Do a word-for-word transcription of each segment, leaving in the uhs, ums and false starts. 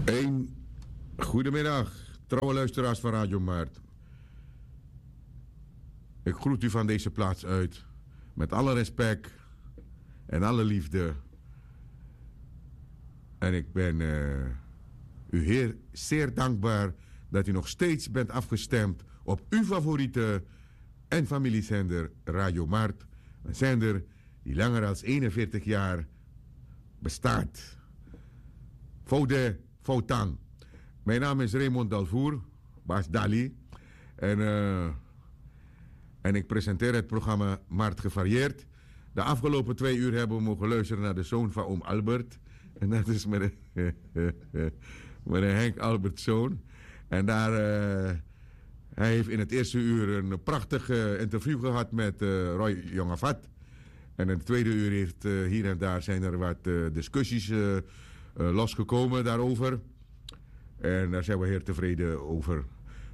Een goedemiddag, trouwe luisteraars van Radio Mart. Ik groet u van deze plaats uit met alle respect en alle liefde. En ik ben eh, u heer zeer dankbaar dat u nog steeds bent afgestemd op uw favoriete en familiezender Radio Mart. Een zender die langer als eenenveertig jaar bestaat. Foude Foutang. Mijn naam is Raymond Dalvoer, Baas Dali. En, eh, en ik presenteer het programma Mart Gevarieerd. De afgelopen twee uur hebben we mogen luisteren naar de zoon van oom Albert. En dat is meneer, meneer Henk Albertzoon. En daar, eh, hij heeft in het eerste uur een prachtig eh, interview gehad met eh, Roy Jongafat. En in het tweede uur heeft eh, hier en daar zijn er wat eh, discussies eh, eh, losgekomen daarover. En daar zijn we heel tevreden over.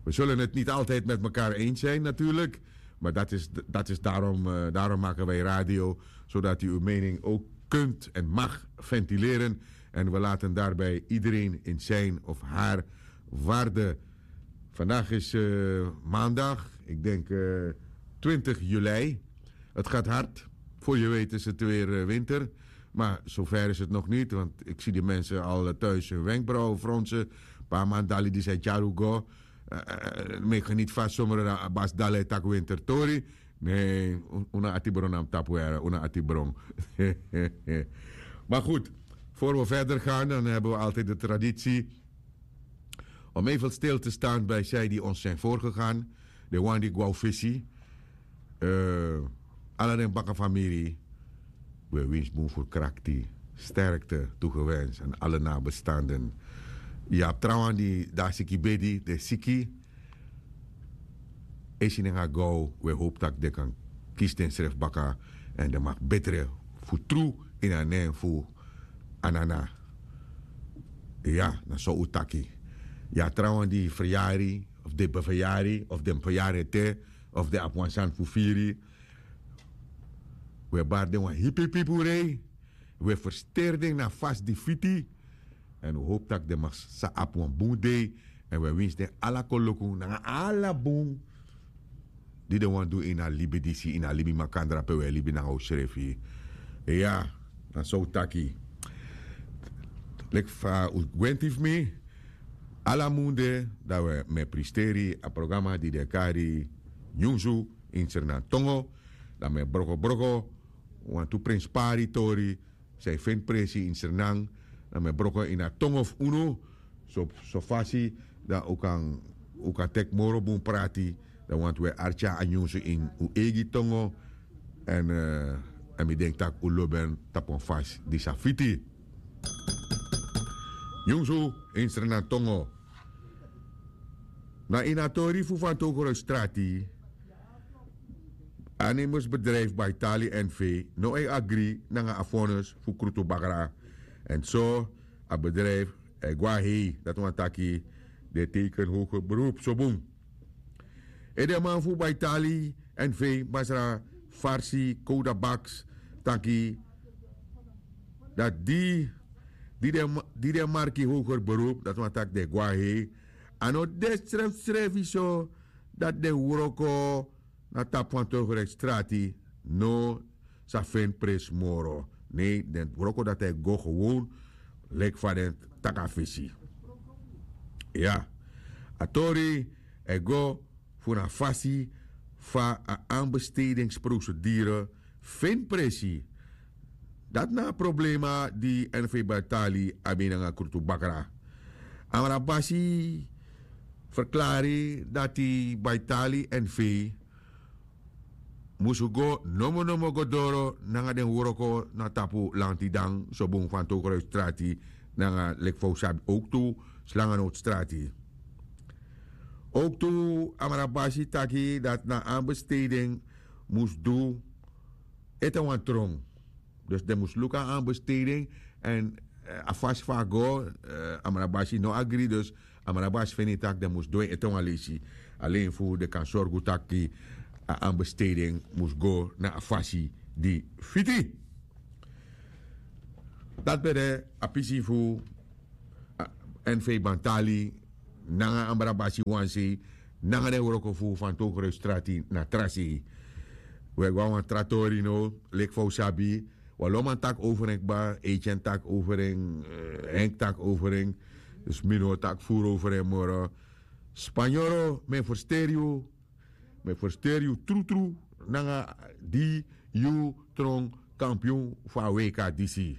We zullen het niet altijd met elkaar eens zijn natuurlijk. Maar dat is, dat is daarom, eh, daarom maken wij radio. Zodat u uw mening ook kunt en mag ventileren. En we laten daarbij iedereen in zijn of haar waarde. Vandaag is eh, maandag, ik denk eh, twintig juli. Het gaat hard. Voor je weet is het weer eh, winter. Maar zover is het nog niet, want ik zie die mensen al eh, thuis hun wenkbrauwen fronsen. Paar maand dali die zijn tjarugo. Meki geniet vast zomer na Bas Dale tak winter tori. Nee, una atibron am tapuera, una atibron. Maar goed, voor we verder gaan, dan hebben we altijd de traditie om even stil te staan bij zij die ons zijn voorgegaan. De wan di gwau fisi. Eh, ala den baka famiri. We wins bun voor krakti, sterkte toegewenst aan alle nabestaanden. Ya trawan di da siki bedi, de siki. Esi nanga go, we hoop tak de kan kisten sref baka. En de mag betre fu tru in a nen fu anana. Ya, na so u taki. Ya trawan di verjari, of de beverjari, of den verjari te, of de apwansan fu firi. We bari den wan hipipipu rei. We versteri den na fasi di fiti. En we hopi tak' den man sa abi wan bun dei. En we winsi den ala koloku nanga ala bun di den wani du ini a libi disi, ini a libi makandra pe we e libi nanga usrefi. Iya, na so un taki. Leki fa un gwenti fu mi, ala mun de dan mi e pristeri a programa di den e kari nyunsu ini srnan tongo. Dan mi e brokobroko wantu prenspari tori san e feni presi ini srnan. Dan mi e broko ini a tongo fu unu, so fasi dan un kan teki moro bun prati. Dan wantu un e arki a nyunsu ini un eigi tongo. Èn mi denki tak' un lobi en tapu wan fasi di sa fiti. Nyunsu ini srnan tongo. Na ini a tori fu fantogro strati, a nemusbedrijfu baitali n v no e agri nanga a vonnis fu krutu bakra. Èn so a bedrijfu e go na hei, dati wani taki den e teiken hoger beroep so bun. Edeman fu baitali n v masra farsi kowda baks taki dati di di den marki hoger beroep, dati wani taki den e go na hei. A no de srefsrefi so dati den wroko na tapu fantogro strati no sa feni presi moro. Nei, den wroko dati e go gewon leki fa den taki a fesi. Iya, a tori e go fu na fasi fa a anbestedingsprosedure feni presi. Dati na a problema di n v baitali abi nanga krutu bakra. Amrabasi ferklari dati baitali n v mus go nomonomo go doro nanga den wroko na tapu lanti dan so bun fantogro strati nanga leki fa un sabi owktu slanganowtu strati. Owktu amrabasi taki dati na anbesteding mus du ete wan tron. Dus den mus luku a anbesteding èn a fasi fa a go, amrabasi no agri dus amrabasi feni tak' den mus du en ete wan leisi alen fu den kan sorgu tak' a anbesteding mus go na a fasi di fiti. Dati ben de a pisi fu Èn fei bantali nanga ambra basi wan sei nanga den wroko fu fantokro yu strati na tra sei. Wi e go na wan tra tori no, leki fa wi sabi. Wi a lo man taki over en kba, eiti en taki over en, henk taki over en. Dus mi no o taki furu over en moro. Spanyoro, mi e fersteri yu. Mi e fersteri yu trutru nanga di yu tron kampion fu a wk disi.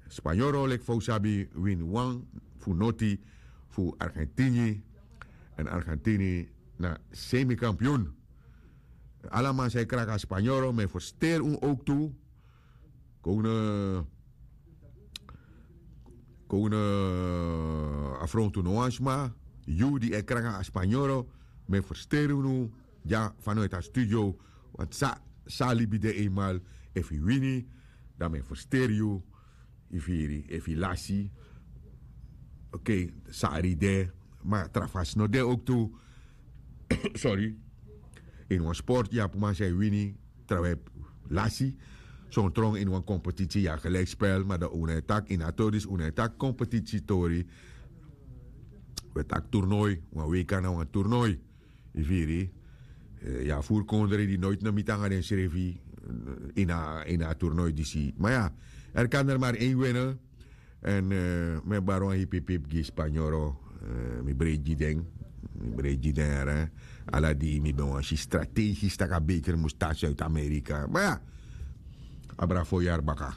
Spanyoro leki fa wi sabi wini wan fu noti fu argentini. Èn argentini na semi kampion. Ala man san e kraka spanyoro mi e fersteri un owktu. Kownu kownu afrontu no wan sma. Yu di e kraka a spanyoro mi e fersteri unu. Dya fanoiti a studio. Wantu san a libi de einmal. Efu yu wini dan mi e fersteri yu. Yu firi efu yu lasi. Okei, sari de. Ma tra fasi no de owktu. Sori. Ini wan sportu yu abi man san e wini, trawan e lasi. Son tron ini wan kompetisi yu abi gelijkspel ma dan un no e taki ini a tori disi un no e taki kompetisi tori. Un e taki turnoi. Wan weika na wan turnoi. Yu firi. Yu abi furu kondre di noiti no miti nanga densrefi ini a turnoi disi ma ya. Er kan der mari en wene. Èn mi e bari wan hipihipi gi spanyoro. Mi breiti gi den. Mi breiti gi den yara. Ala di mi ben wani si strategis tak' a beker mus tan suid-amerika ma ya. Abra fo yari baka.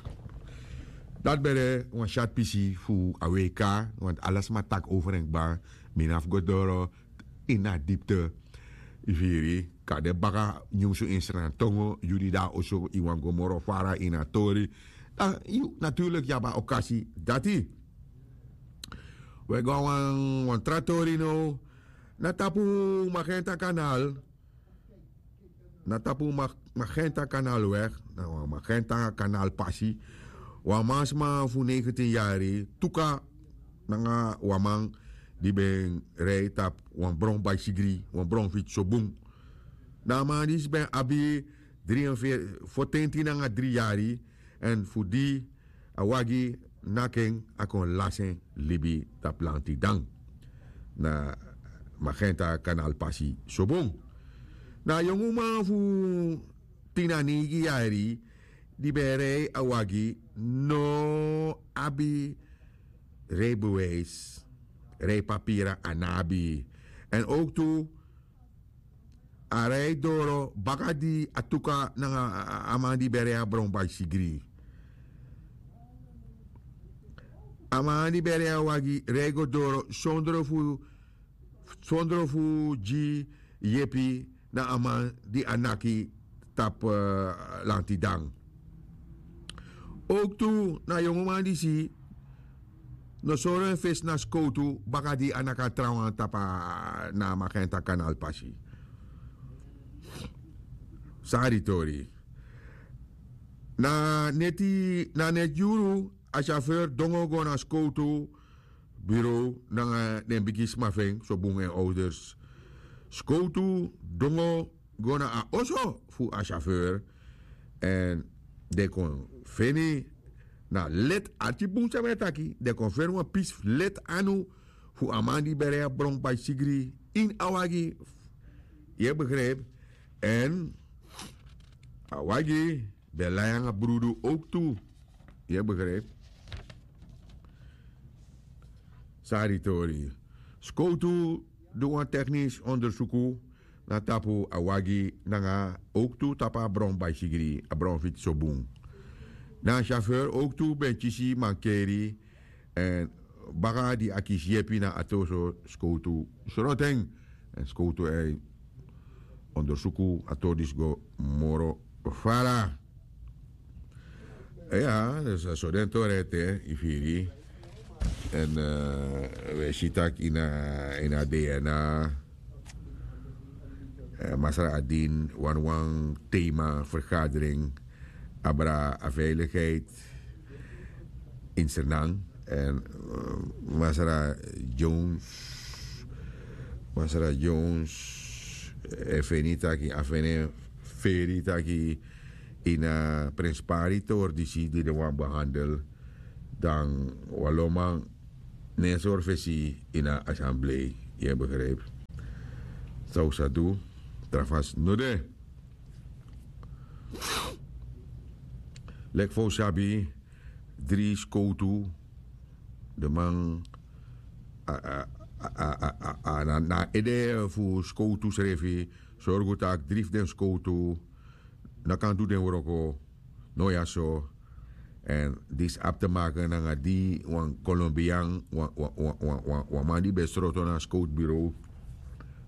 Dati ben de wan syati pisi fu a wk. Wantu ala sma taki over en kba. Mi no abi fu go doro ini a dipte. Yu firi. Kan de baka nyunsu ini srantongo yu di de na oso yu wani go moro fara ini a tori. Dan yu naturlik yu abi a okasi dati. Wi e go na wan tra tori now. Na tapu magenta kanal. Na tapu magenta kanal weg. Na wan magenta kanal pasi. Wan mansma fu negentin yari tuka nanga wan man di ben rei tapu wan bron baisigri wan bron fitsi so bun. Na a man disi ben abi dri en fo tenti nanga dri yari. Èn fu di a wagi naki en a kon lasi en libi tapu lanti dan. Na magenta kanal pasi so bun. Na a yongu man fu tin na neigi yari di ben e rei a wagi no abi reibewijsi. Reipapira a no abi. Èn owktu a rei doro baka di a tuka nanga a man di ben rei a bron baisigri. A man di ben rei a wagi rei go doro sondro fu sondro fu gi yepi na a man di a naki tapu lanti dan. Owktu na a yongu man disi no sori en fesi na skowtu baka di a naki a trawan tapu na a magenta kanal pasi. San a di tori. Na neti na neti yuru a syaferi dongo go na skowtu burow nanga den bigi sma fu en so bun en owders. Skowtu dongo go na a oso fu a syaferi. Èn den kon feni na leti arki bun san mi e taki den kon feni wan pisi fu leti anu fu a man di ben rei a bron baisigri ini a wagi. Yu e begripi. Èn a wagi ben lai nanga brudu owktu. Yu e begripi. San a di tori. Skowtu du wan teknisi ondersuku na tapu a wagi nanga owktu tapu a bron baisigri a bron fitsi so bun. Na a syaferi owktu ben kisi mankeri. Èn baka di a kisi yepi na a toso skowtu sroto en. Èn skowtu e ondersuku a tori disi go moro fara. Iya, dus a so den tori ete yu firi. Èn wi e si tak' ini a dna masra adin wani wan tema fergadering abra a veiligheid. Ini sernan èn masra jones masra jones e feni taki a feni feri taki ini a prenspari tori disi di den wani behandel dan wi a lo man Ne en sori fesi ini a asamblei. Yu e begripi? San un sa du? Tra fasi no de. Leki fa un sabi, dri skowtu, den man a, a, a, a, a, a, na, na ede fu skowtu srefi sorgu tak' dri fu den skowtu no kan du den wroko. No ya so. Èn disi abi te maken nanga di wan kolombian, wan, wan, wan, wan, wan, wan man di ben sroto na skowtbureau.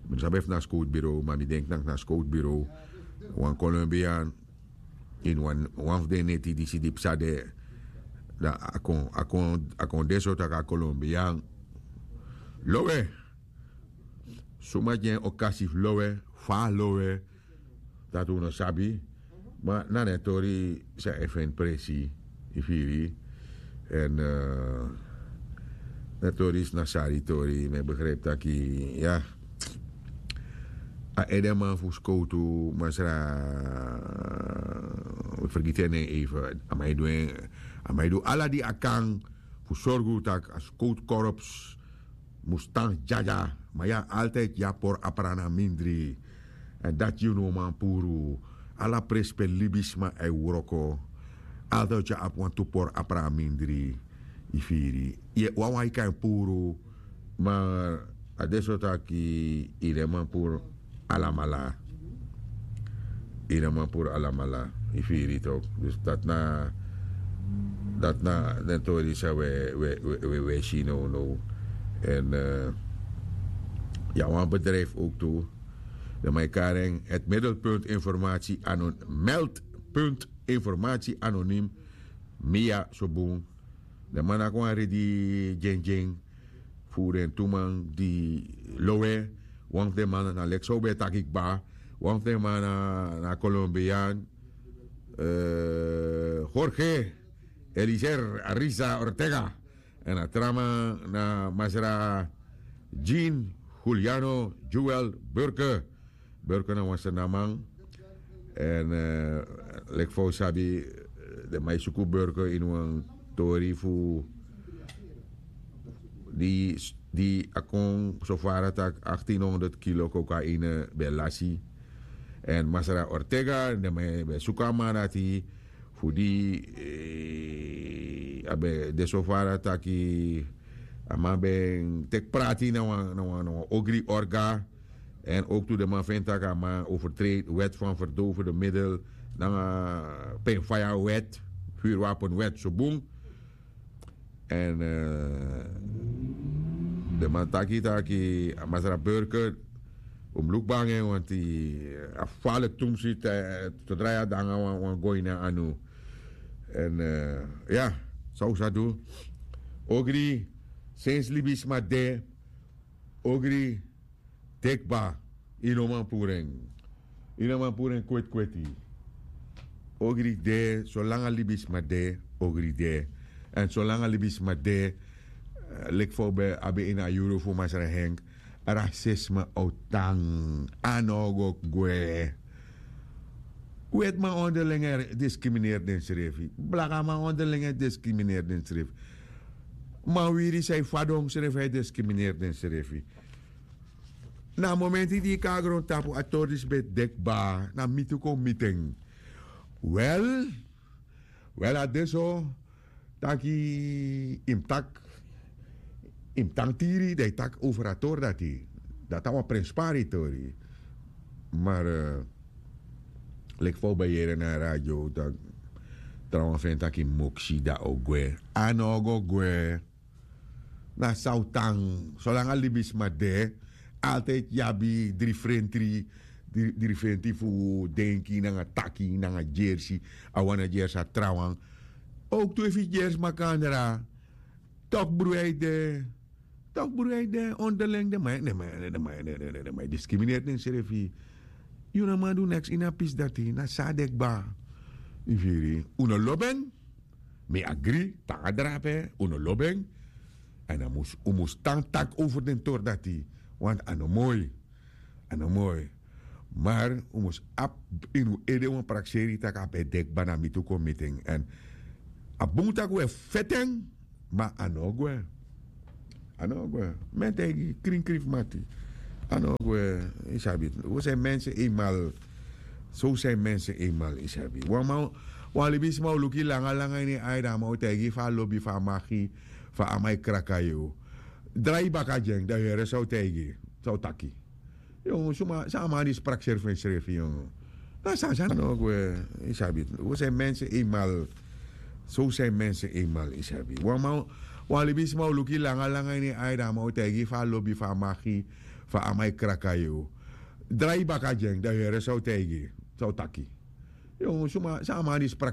Mi no sabi efu na skowtbureau, ma mi denki tak' na skowtbureau. Wan kolombian ini wan, wan fu den neti disi di psa de. Dan a kon, a kon, a kon de so tak' a kolombian lowe. Suma gi en okasi fu lowe, fa a lowe, dati un no sabi. Ma na den tori san e feni presi, yu firi. Èn, eh, den tori disi na sari tori, mi e begripi tak' ya. A edeman fu skowtu, masra, wi fergiti en nen even. A man e du en, a man e du ala di a kan fu sorgu tak' a skowtu korps mus tan dyadia. Ma ya, altidi ya pori a pran na mindri. Èn dati yu no man puru. Ala presi pe libisma e wroko, altidi ya abi wantu pori a pran na mindri. Yu firi? Yu e wawan yu kan puru. Ma a de so tak' yu no man puru alamala. Yu no man puru alamala. Yu firi tok? Dus dati na, dati na den tori san wi e, wi e, wi e, wi e, wi e si nownow. Èn, eh, ya wan bedrijfi ook tu. Den man e kari en het middelpunt informatie anon-, meldpunt informatie anoniem. Mi ya so bun. Den man naki wan redi dyendyen fu den tu man di lowe. Wan fu den man na leki san un ben e taki kba. Wan fu den man na, na Kolombiaan, eh, Jorge Elizer Ariza Ortega. Èn a tra man na masra Jean Juliano Joel Burke. Burke na wan Sranan man. Èn, eh, leki fa un sabi, eh, den man e suku Burke ini wan tori fu di, di a kon so fara tak' achttien honderd kilo kokaine ben lasi. Èn masra Ortega, den man ben e suku a man dati fu di, eh, a ben de so fara taki a man ben teki prati na wan, na wan, na wan ogri orga. Èn ook tu den man feni tak' a man overtreed wet van verdovende middel nanga pen faya wet, vuurwapenwet so bun. Èn, eh, den man taki taki a masra Burke, un mus luku bun nanga en, want a falik tumsi, eh, te drai a danga wan, wan go ini a anu. Èn, eh, ya, san un sa du. Ogri, sensi libisma de, ogri de kba, yu no man puru en. Yu no man puru en kweti kweti. Ogri de, solanga libisma de, ogri de. Èn solanga libisma de, eh, leki fa un ben abi ini a yuru fu masra Henk, rasisme o tan, a no o go gwe. Wetiman onderling e discrimineer densrefi. Blakaman onderling e discrimineer densrefi. Manwiri san e fadon srefi e discrimineer densrefi. Na a momenti di yu kon na grontapu a tori disi ben de kba, na miti un kon miti en. Wel, wel, a de so taki yu mus taki, yu mus tan tiri, dan yu taki over a tori dati. Dati na wan prenspari tori. Maar, eh, leki fa un ben yere na a radio, dan trawan feni taki moksi, dan o gwe. A no o go gwe. Na san o tan, solanga libisma de, altijd yu abi dri frentri, dri, dri frentri fu denki nanga taki nanga gersi, a wan na gersi a trawan. Ook tu efu yu gersi makandra, tok bruya e de, tok bruya e de, onderling den man, den man, den man, den man, den man e discrimineer densrefi. Yu no man du neks ini a pisi dati, na san a de kba. Yu firi, un no lobi en. Mi agri, tan a drape, un no lobi en. Èn a mus, un mus tan taki over den tori dati. Want a no moi. A no moi. Maar un mus abi ini un ede wan prakseri tak' a ben de kba, na miti un kon miti en. Èn a bun tak' un e feti en, ma a no o gwe. A no gwe. Mi e taigi yu, krin krin fu mati. A no gwe. Yu sabi, we zijn mensen eenmaal. So zijn mensen eenmaal, yu sabi. Wan man, wan libisma o luku yu langa langa ini en ai, dan a man o taigi yu fa a lobi, fa a magi, fa a man e kraka yu. Drai yu baka gi en, dan yu yere san a o taigi yu, san a o taki. Yu, suma, san a man di sprak srefi ensrefi, yu. Na san san no gwe, yu sabi. We zijn mensen eenmaal. So zijn mensen eenmaal, yu sabi. Wan man, wan libisma o luku yu langa langa ini en ai, dan a man o taigi yu fa a lobi, fa a magi, fa a man e kraka yu. Drai yu baka gi en, dan yu yere san a o taigi yu, san a o taki. Yu, suma, san a man di sprak